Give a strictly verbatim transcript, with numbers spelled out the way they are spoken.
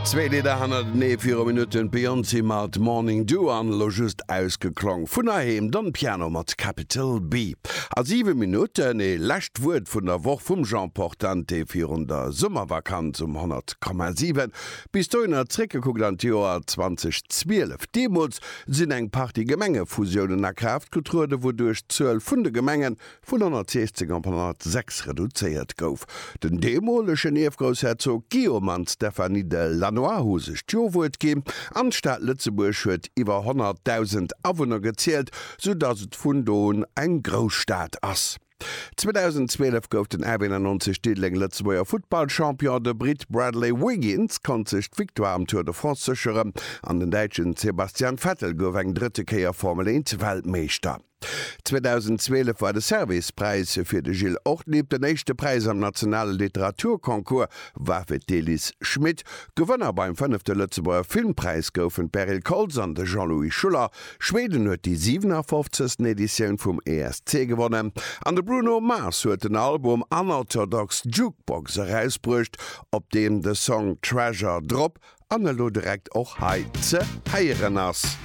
Zwee Lidder hannertenee, viru Minutten d'Beyoncé mat Morning Dew an elo just ausgeklong vun heiheem Don Piano mat Capital B. A siwe Minutten ee lescht Wuert vun der Woch vum Jean Portante virun der Summervakanz um honnert Komma siwen. Bis dohinner zréckgekuckt an d'Joer zweitausendzwielef. Deemools sinn eng Partie Gemengefusiounen a Kraaft getrueden, wouduerch d'Zuel vun de Gemengen vun honnertsiechzéng op honnertsechs reduzéiert gouf. Den deemolegen Ierfgroussherzog Guillaume an d'Stéphanie de Lannoy hu sech d'Jo-Wuert ginn an d'Stad Lëtzebuerg huet iwwer honnertdausend Awunner gezielt, sou datt et vun do un eng Grousstad ass. zweitausendzwielef gouf den R B neunundneunzeg Diddeleng Lëtzebuerger Futtballchampion, de Britt Bradley Wiggins konnt sech d'Victoire am Tour de France sécheren an den Däitschen Sebastian Vettel gouf eng drëtte Kéier Formel eent Weltmeeschter. zweitausendzwielef war de Servicepräis fir de Gilles Ortlieb, den éischte Präis am nationale Literaturconcours war fir d'Elise Schmit. Gewënner beim fënnefte Lëtzebuerger Filmpräis goufen d'Beryl Koltz an de Jean-Louis Schuller. Schweden huet déi siwenafofzegsten Editioun vum E S C gewonnen an de Bruno Mars huet den Album Unorthodox Jukebox erausbruecht, op deem de Song Treasure drop an elo direkt och hei ze héieren ass.